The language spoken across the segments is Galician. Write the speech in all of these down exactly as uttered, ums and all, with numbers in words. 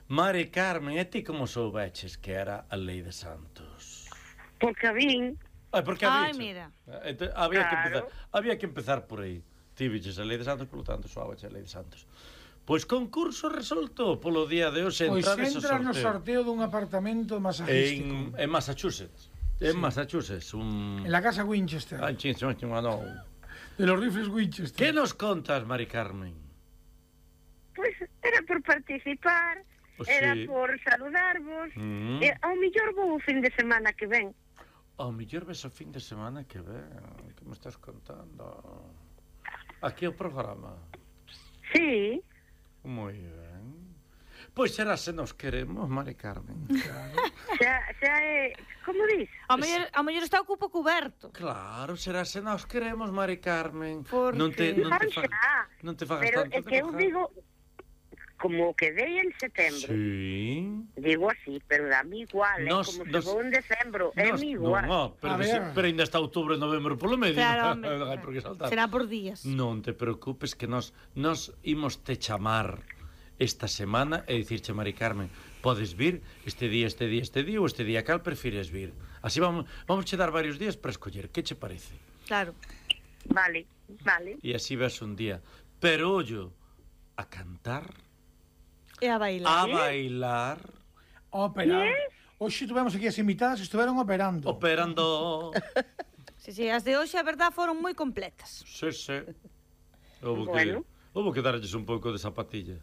Mari Carmen, e ti como soubeches que era a lei de Santos? Porque a vin. Ai, porque Ai, había mira. Entón, había, Claro. que empezar, había que empezar por aí. Ti viches a lei de Santos, polo tanto, soabache a lei de Santos. Pois concurso resolto polo día de hoxe Pois entrar ese entra no sorteo. sorteo dun apartamento masagístico. En, en Massachusetts. En Massachusetts, un... En la casa Winchester. Ai, chin, chin, chin, no. De los rifles Winchester. Que nos contas, Mari Carmen? Pois era por participar, Oh, era sí. por saludarvos. Mm. E ao mellor vou o fin de semana que ven. Ao mellor ves o fin de semana que ven. Que me estás contando? Aquí o programa. Sí. Moi ben. Pois será se nos queremos, Mari Carmen. Xa, xa é... Como dis? Ao mellor, ao mellor está o cupo cuberto. Claro, será se nos queremos, Mari Carmen. Por Non te, que? non te, Ah, fa, xa. non te fagas Pero tanto é que eu de digo... Como quedei en setembro. Sí. Digo así, pero dame igual, Nos- é como nos- se vou en decembro, é Nos- mi igual. Non, oh, pero, A que se, ver. pero ainda está outubro e novembro polo medio. Claro, Non home. hai por que saltar. Será por días. Non te preocupes que nos, nos imos te chamar esta semana e dicirche, Mari Carmen, podes vir este día, este día, este día ou este día, cal prefires vir? Así vamos, vamos che dar varios días para escoller, que che parece? Claro. Vale, vale. E así ves un día. Pero ollo, a cantar, E a bailar. a bailar, Ópera. Hoxe tuvemos aquí as invitadas, estiveron operando. operando. Sí, sí, as de hoxe, a verdad, foron moi completas. Sí, sí. Houve Bueno. que, houve que darlles un pouco de zapatilla.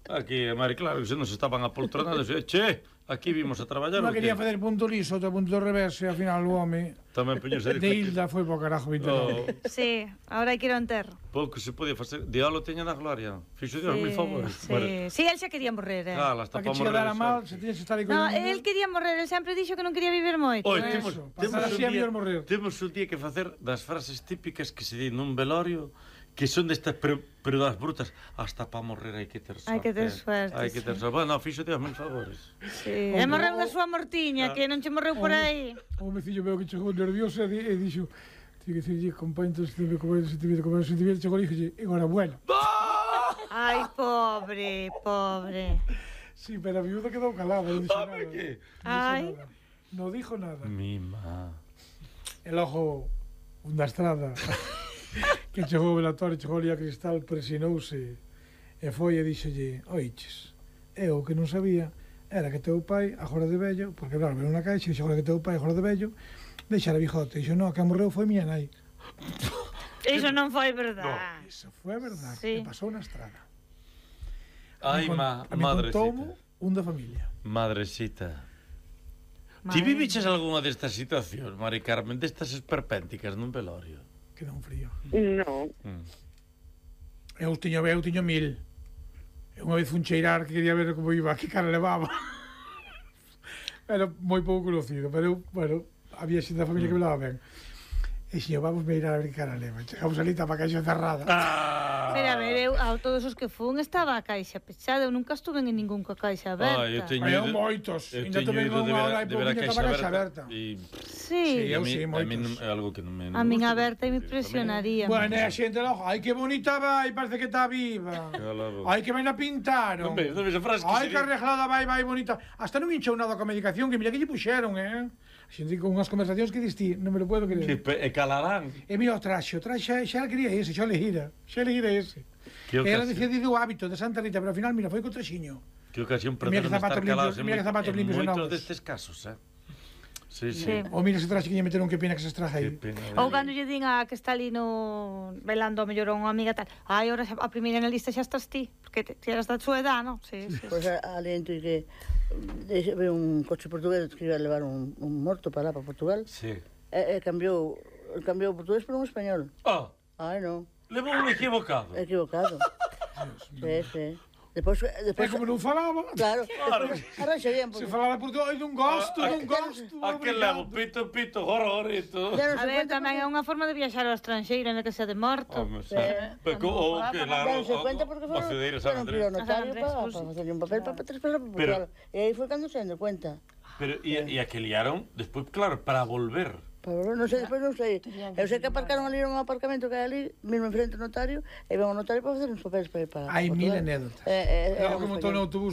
Aquí, Mari, claro, que se nos estaban apoltronados. E, che, aquí vimos a traballar. Unha o que? quería facer punto liso, outra punto revés, e ao final o home Tamén puñose de Hilda foi po carajo vinte e nove. Oh, Sí, ahora hai que ir ao enterro. pouco se podía facer. Diolo teña na gloria. Fixo Dios mil favores. Sí, sí, el xa quería morrer, eh. Cala, hasta Para que pa che morrer. dara mal, xa. se tienes que estar aí con No, el el quería morrer, el sempre dixo que non quería vivir moito. Oi, eh. temos, Eso, temos, pasar así un a día, mellor morrer. temos un día que facer das frases típicas que se di nun velorio que son destas, pero, pero das brutas. Hasta pa morrer hai que ter sorte. Hai que ter suerte, Hai que ter sí. sorte. Bueno, fixo Dios mil favores. Sí. E morreu da súa mortiña, que non che morreu por aí. O mecillo veo que chegou nervioso e, di, e dixo, tiene que dicirlle, compañero, se te ve comer sentimiento, comer sentimiento, chegou e dixo, enhorabuena. Ai, pobre, pobre. Sí, pero a viuda quedou calada, non dixo nada. Home, que? Non dixo Ai. nada. Non dixo nada. Mima. El ojo, un da estrada, que chegou o velatorio, chegou ali a Cristal, presinouse, e foi e dixolle, oiches, eu que non sabía, era que teu pai, agora de vello, porque claro, veio unha caixa, e dixo, agora que teu pai, agora de vello, deixara bijote, e dixo, no, que morreu foi miña nai. Iso non foi verdade. Iso foi a verdade, Sí. que pasou na estrada. Ai, A mi ma, con- a mi madrecita. contoumo un da familia. Madrecita. Madre Ti viviches algunha destas situacións, Mari Carmen, destas esperpénticas nun velorio? Quedou un frío. Non. Mm. Eu tiño, eu tiño mil. E unha vez fun cheirar que quería ver como iba, que cara levaba. Era moi pouco conocido, pero eu, bueno, había xente da familia que me leva ben. E xe, vamos mirar a ver que cara leva. Chegamos ali, tapa a caixa cerrada. Ah! Pero a ver, eu, a todos os que fun estaba a caixa pechada, eu nunca estuve en ningún coa caixa aberta. Ah, eu teño Hai ido- moitos. eu Ainda teño tamén ido de unha ver a- hora e de ver a pouquinho caixa estaba a caixa aberta. aberta. E Sí. e a eu mí, sí, a mí moitos. non, é algo que non me... A min gusta. aberta me impresionaría. Bueno, e a xente logo, ai que bonita vai, parece que está viva. Cala a boca. Ai que ben a pintaron. Non ves, non ves a frase que Ai se que di? arreglada vai, vai bonita. Hasta non hinchou nada coa medicación, que mira que lle puxeron, eh. A xente con unhas conversacións que distí, non me lo puedo Que creer. pe- e calarán. E mira o traxe, o traxe xa quería ese, xa le gira, xa le gira ese. Que E era ocasión, decidido o hábito de Santa Rita, pero ao final, mira, foi co traxiño. que ocasión Mira que perderon zapatos estar calados limpios, en, mira que zapatos en limpios e moitos novos. destes casos, eh? Sí, sí. Sí. Ou mira ese traxe que lle meteron, que pena que se estraja Que aí. pena. Ou cando lle din a que está ali no velando a mellor a unha amiga tal, ai, ahora xa- a primeira na lista xa estás ti, porque te, ti eras da súa edad, non? Sí, sí. Pois pues, aliento que de, ve un coche portugués que iba a levar un, un morto para lá, para Portugal, Sí. e, e cambiou, cambiou o portugués por un español. Ah, Ai, non, levou un equivocado. equivocado. Sí, sí. Depois, E depois, como non falaba, claro, Claro. arranxa bien, se porque falaba por todo, ai, non gosto, Ah, non ah, gosto. Aquel levo pito, pito, horrorito. ya non A se ver, cuenta tamén é porque, unha forma de viaxar ao estranxeiro, en que sea de morto. Home, sí. Eh, Pero, o que, ya claro, non se o- cuenta porque o foron, Cedeira San foron piro Andrés. notario San Andrés, para pues, pa sí. facerle un papel para tres para Pero- Portugal. E aí foi cando se deu cuenta. Pero, e, e a que liaron, despois, claro, para volver. Para volver, non sei, despois non sei. Eu sei que aparcaron ali nun aparcamento que hai ali, mesmo enfrente do notario, e ven o notario para facer uns papeles para ir para Hai mil Portugal. anécdotas. Eh, eh, Era era o que un montou no español. autobús